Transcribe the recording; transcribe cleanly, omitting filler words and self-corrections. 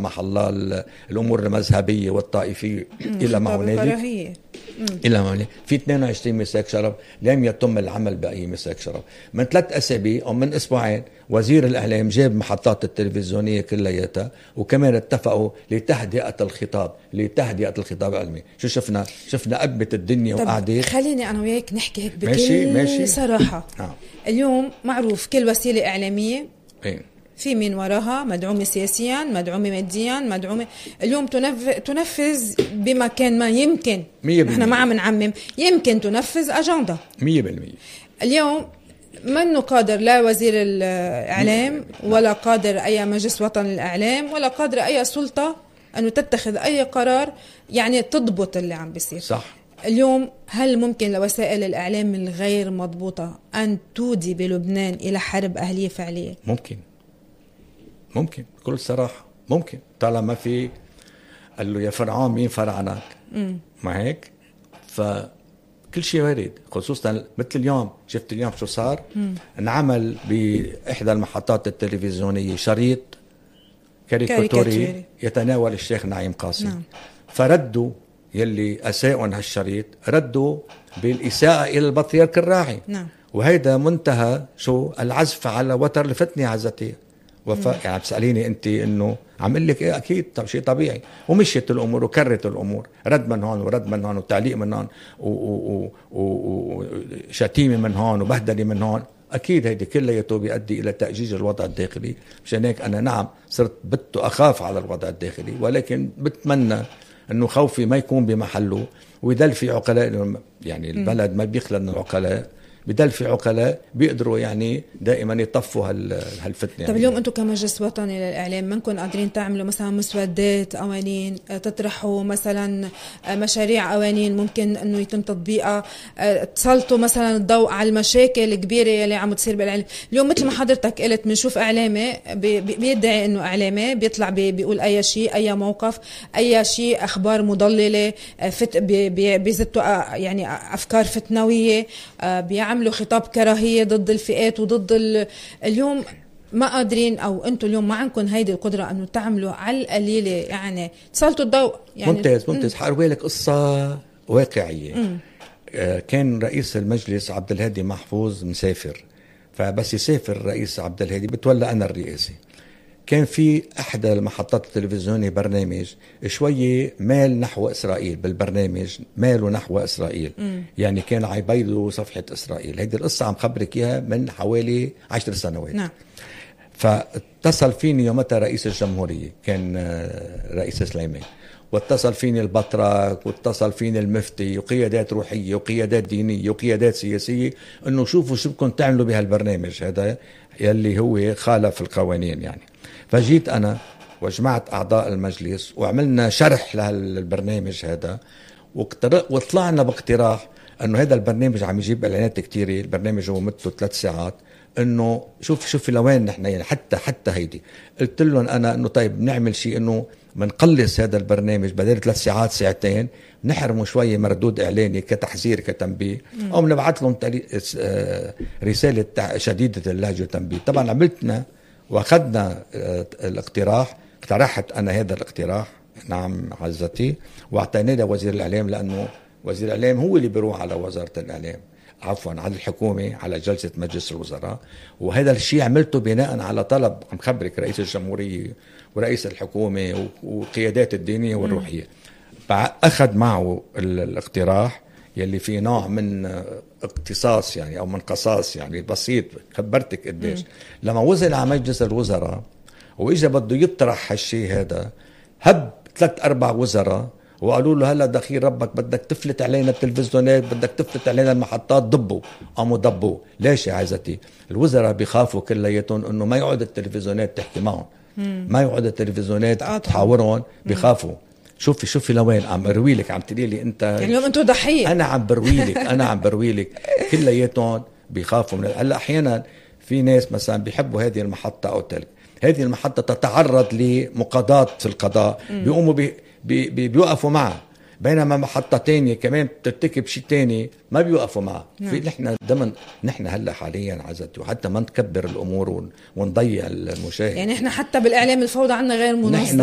سمح الله الأمور المذهبية والطائفية إلى ما هنالك في 22 مساك شرف لم يتم العمل بأي مساك شرف. من 3 أسابيع أو من أسبوعين وزير الإعلام جاب محطات التلفزيونية كلياتها، وكمان اتفقوا لتهدئة الخطاب العلمي. شو شفنا قبة الدنيا وقاعدة. خليني أنا وياك نحكي هيك بكل صراحة. اليوم معروف كل وسيلة إعلامية في من وراها مدعومة سياسيا، مدعومة ماديا، مدعومة اليوم تنفذ بمكان ما. يمكن نحن ما عم نعمم، يمكن تنفذ أجندة 100%. اليوم منه قادر لا وزير الإعلام ولا قادر أي مجلس وطن الإعلام ولا قادر أي سلطة أنه تتخذ أي قرار يعني تضبط اللي عم بيصير. صح. اليوم هل ممكن لوسائل الإعلام الغير مضبوطة أن تودي بلبنان إلى حرب أهلية فعلية؟ ممكن بكل صراحة ممكن، طالما في قال له يا فرعون مين فرعنك. ما هيك؟ فكل شيء وارد، خصوصا مثل اليوم. شفت اليوم شو صار؟ انعمل بإحدى المحطات التلفزيونية شريط كاريكاتوري يتناول الشيخ نعيم قاسم. فردوا يلي أساءوا هالشريط، ردوا بالإساءة إلى البطريرك الراعي. وهيدا منتهى شو العزف على وتر الفتنة عزتي. يعني بسأليني أنت إنه عمل لك إيه؟ أكيد شيء طبيعي. ومشيت الأمور وكرت الأمور، رد من هون ورد من هون وتعليق من هون وشتيمة من هون وبهدلة من هون. أكيد هيدي كلها بيؤدي إلى تأجيج الوضع الداخلي. مشان هيك أنا نعم صرت أخاف على الوضع الداخلي، ولكن بتمنى إنه خوفي ما يكون بمحله، ويدل في عقلاء. يعني البلد ما بيخلى من العقلاء، بدل في عقلاء بيقدروا يعني دائما يطفوا هالفتنة. طب اليوم انتم كمجلس وطني للإعلام منكم قادرين تعملوا مثلا مسودات قوانين، تطرحوا مثلا مشاريع قوانين ممكن انه يتم تطبيقها، تسلطوا مثلا الضوء على المشاكل الكبيرة اللي عم تصير بالإعلام؟ اليوم مثل ما حضرتك قلت بنشوف إعلامي بيدعي انه إعلامي بيطلع بيقول اي شيء، اي موقف، اي شيء، اخبار مضللة، بيزتوا يعني افكار فتنوية، بيعملوا خطاب كراهية ضد الفئات وضد اليوم ما قادرين، أو أنتوا اليوم ما عندكم هيدي القدرة أنه تعملوا على القليلة يعني تسلطوا الضوء. يعني ممتاز. حأروي لك قصة واقعية. كان رئيس المجلس عبد الهادي محفوظ مسافر، فبس يسافر رئيس عبد الهادي بتولى أنا الرئاسة. كان في أحد المحطات التلفزيونية برنامج شوية مال نحو إسرائيل، بالبرنامج ماله نحو إسرائيل. يعني كان عيبيدوا صفحة إسرائيل. هيدي القصة عم خبرك إياها من حوالي 10 سنوات. فاتصل فيني يومتها رئيس الجمهورية، كان رئيس سليمان، واتصل فيني البطرك، واتصل فيني المفتي، وقيادات روحية وقيادات دينية وقيادات سياسية، انه شوفوا شو بدكم تعملوا بهالبرنامج هذا يلي هو خالف القوانين. يعني فجيت أنا وجمعت أعضاء المجلس وعملنا شرح للبرنامج هذا، وطلعنا باقتراح أنه هذا البرنامج عم يجيب إعلانات كتيرة. البرنامج هو مدته 3 ساعات. أنه شوف لوين نحن يعني حتى هيدي. قلت لهم أنا أنه طيب نعمل شيء أنه منقلص هذا البرنامج بدل 3 ساعات 2 ساعات، نحرمه شوية مردود إعلاني كتحذير كتنبيه، أو نبعث لهم رسالة شديدة اللهجة وتنبيه. طبعا عملتنا واخذنا الاقتراح، اقترحت انا هذا الاقتراح نعم عزتي، واعطيناه لوزير الاعلام، لانه وزير الاعلام هو اللي بيروح على وزارة الاعلام، عفوا على الحكومة، على جلسة مجلس الوزراء. وهذا الشيء عملته بناء على طلب عم خبرك رئيس الجمهورية ورئيس الحكومة وقيادات الدينية والروحية. اخذ معه الاقتراح يلي فيه نوع من اقتصاص يعني او من قصاص يعني بسيط. خبرتك قديش لما وصل على مجلس الوزراء واجا بده يطرح هالشيء هذا، هب 3-4 وزراء وقالوا له هلا دخيل ربك بدك تفلت علينا التلفزيونات، بدك تفلت علينا المحطات، ضبوا. ليش يا عزتي؟ الوزراء بيخافوا كلياتهم انه ما يقعد التلفزيونات تحكي معهم، ما يقعد التلفزيونات تحاورهم، بيخافوا. شوفي لوين عم بروي لك، عم تقولي لي انت يعني اليوم انتوا ضحيه. انا عم بروي لك كلياتهم بيخافوا من هلا. احيانا في ناس مثلا بيحبوا هذه المحطه او تلك، هذه المحطه تتعرض لمقاضاه في القضاء، بيقوموا بيوقفوا معها، بينما محطه تانية كمان بترتكب شيء تاني ما بيوقفوا معها. في نحن هلا حاليا عزتي، وحتى ما نكبر الامور ونضيع المشاهد. يعني احنا حتى بالاعلام الفوضى عندنا غير منظم.